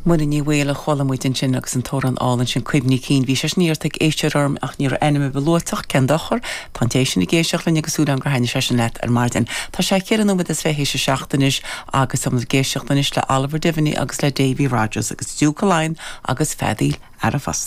Muireann Ní Bhaoill a chuala muid ansin agus an t-amhrán álainn sin Cuimhní Cinn. Bhí sé sin iarrta ag éisteoir orm ach ní raibh ainm ar bith luaite ach cén dochar, tá an té sin ag éisteacht linn agus súil agam gur thaitnigh sé sin leat ar maidin. Tá sé cheithre nóiméad is 27 anois agus táimid ag éisteacht anois le Oliver Devaney agus le Davy Rodgers agus Duke of Laighean agus Feadaíl Fheara Fosta.